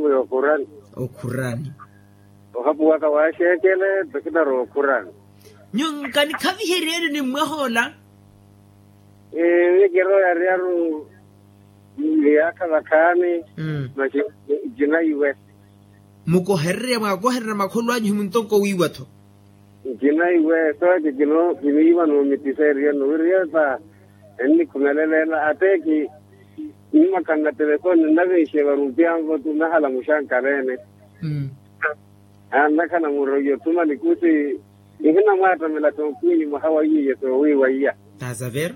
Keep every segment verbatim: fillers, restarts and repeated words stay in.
Okhurani. Okhurani. Ohapuwaka waxeekele. Pekinaro okhurani. Nyu nkanikhaviheryeni ni mmwahoola. Miyo kirooyaryaru. Miyaakha vakhaani. Masi. Ncina iwe. Mukohererya mwaakohererya makholo anyu himuntonko wiiwa-tho. Ncina iwe sooci kino kiniiwa noomitisa eriyano wiriye ta ennikhumeleleela ate ki. Nimakhanna telefoni nnaviixe varupiyanvo tu nahalamuxa nkaleene. Aa nnakhala muroiyo thuma nikusi. Nihinamwaattamela tonkwinyi mwaha wa iyiye soowiiwa iya. Taasavera.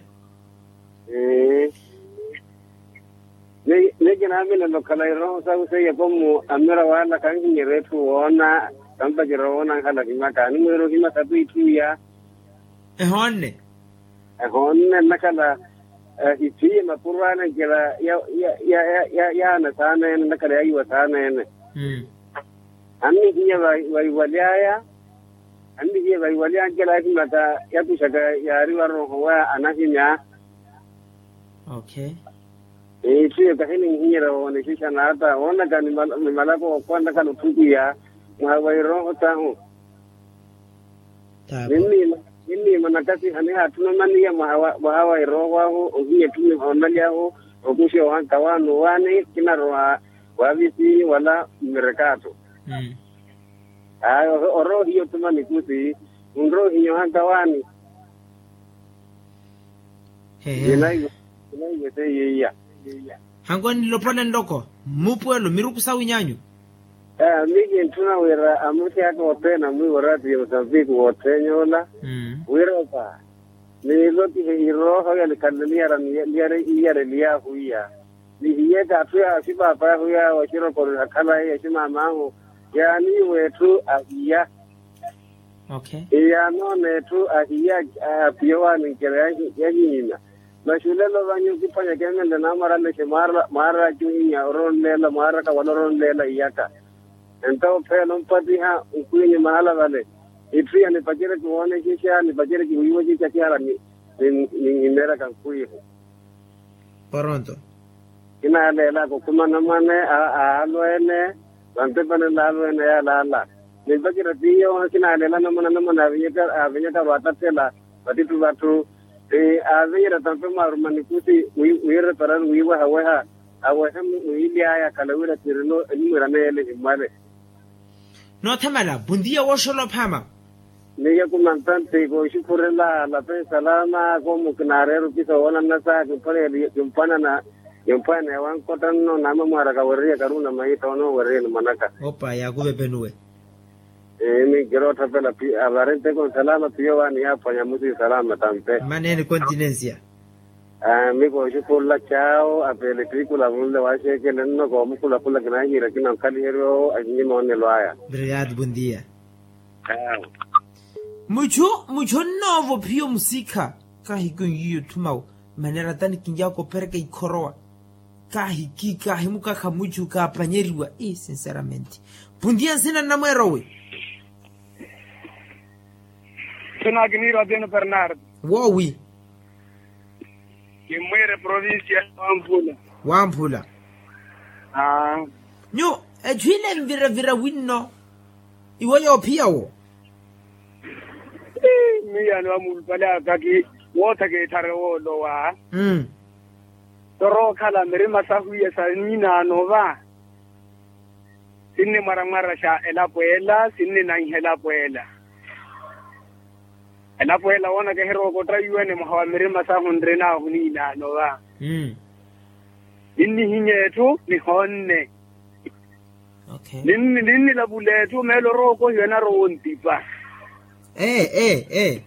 Ni kinaamilelo okhala irooho sahu seiya komu amira wala kanhinyerya etthu woona. Kampacerya woona anhala ohimaka animwiira ohimaka twitthu iya. Ehoonne. Ehoonne nnakhala. Itthiye mapuro ale nkela yaana saaneene nnakhala yaiwa saaneene. Annihiya vaiwaly'aya. Annihiya vaiwaly'aya nkela yahimaka. Yakuxaka yaari varooho wa anahimya. Itthu iyo kahininhinyerya woonexexa naata woonaka. Ni malako ookhuwa nnakhala otthukiya mwaha wa irooho tahu. Ninniima nakasiha nihaatthuna omaniya mwaha wa irooho ahu ohiya etthu nihoonalyahu. Okuxa ohanka waani owaani kinarowa waavisiyi wala mmirekaato. Aya orowa ohiya othuma nikusi. Onrowa ohiya ohanka waani. Ehe. Kinaiwe seiya iya. Hankwani nilopole nloko mmupuwelo miruku sawu inyanyu. Miyo kintthuna wira amusi aka othene amwiiwa oraatiyo ya musambiki wothene ola wira opa. Nilotihe irooho yanikhanle niyara niyara iyareliy'ahu iya. Nihiyeke atthu ya axipaap'ahu yaawo axirokoro akhalayi aximam'ahu yaaniiwa etthu ahiya. Iyaanoona etthu ahiya. Apiya owaaninkela yahihiina. Masi olelo vanyu kiphwanya keemenle naamwaralexe mwaaraki ohinya oroonleela mwaaraka wala oroonleela iyaka. Entawo pheela ompattiha nkhwinyu mahala vale. Itthu iya nipacerye kiwoonexexa nipacerye kiwiiwexexa kihara. Ninhimeeryaka nkhwihu. Poronto. Kinaaleelaka okhuma anamwane aalweene. Vantepani nlaalweene yaalaala. Nimpacerya tiyo kinaaleela anamwane anamwane aavinyaka vaattathela vattitthu vatthu. Aavinyerya tampe mwaaruma nikusi wiireparani wiiwehaweha. Awehe mwiili aya akhala wira tirino enimwiiraneya ele himmwale. Noothamala buntiya wooxola ophaama. Miyo kumantanti kooxukhurela lape salama koomu kinaareera opisa woona nnasa kimphwanana kimphwanana. Kimphwanana ya wankottanno naamamwaaraka weriyaka ruuna mahitta onooweriyeni mwanaka. Opa yaakuvepenuwe. Miyo kirootthaphela pi avari nteko nsalama piyo waani yaaphwanya musi nsalama tampe. Mmaneeni continencia. Miyo kooxukhurela cawo apeele ettiikula munle waaxeekele nno koomukhulakhula kinaahiira kina onkhaliherya owo ahinyima onelo aya. Obrigado bondia. Muchu muchu onnoova ophiya omusikha. Kaahiki onyiiya otthumawo. Maneera tani kinyaaka opereka ikhorowa. Kaahiki kaahimukakha muchu kaapanyeriwa ii sinceramente. Pundiya nsina nnamweerowe. Nsina kiniira atino bernard. Woowi. Kimmwiire provincia ya wamphula. Wamphula. Nyu echu ile nviravira winno. Iwo yoophiya wo. Miyo yano amuulupale akaki wootha keetthare woolowa. Torookhala mirima sahu iya sa niinaano va. Sinnimwaramwaraxa elapo ela sinninanha elapo ela. Elapo ela woona kahirookotaiwene mwaha wa mirima sahu nrinaahu niinaano va. Ninnihinya etthu nihoonne. Ninnilavula etthu meelo orookohiwa enarowa ontipa. Ee ee ee.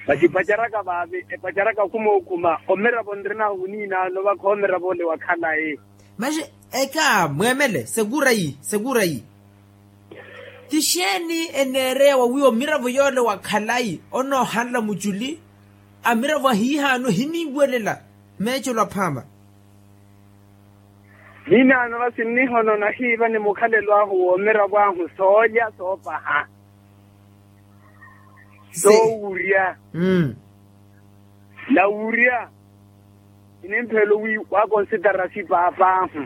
Masi epacaraka vaavi epacaraka okhuma okhuma omiravo nrinaahu niinaano vakha omiravo ole wa khalayi. Masi eka mweemele sekura yi sekura yi. Ti xeeni eneereya wawiiwa miravo yoole wa khalayi onoohanla muculi? Amiravo ahiihaano ehiniiwelela meecelo aphaama. Niinaano va sinnihono nahiiva ni mukhalelo ahu woomiravo ahu soolya soopaha. Soowurya. Nawurya. Inimphelo wi waakonsitara sipaapaahu.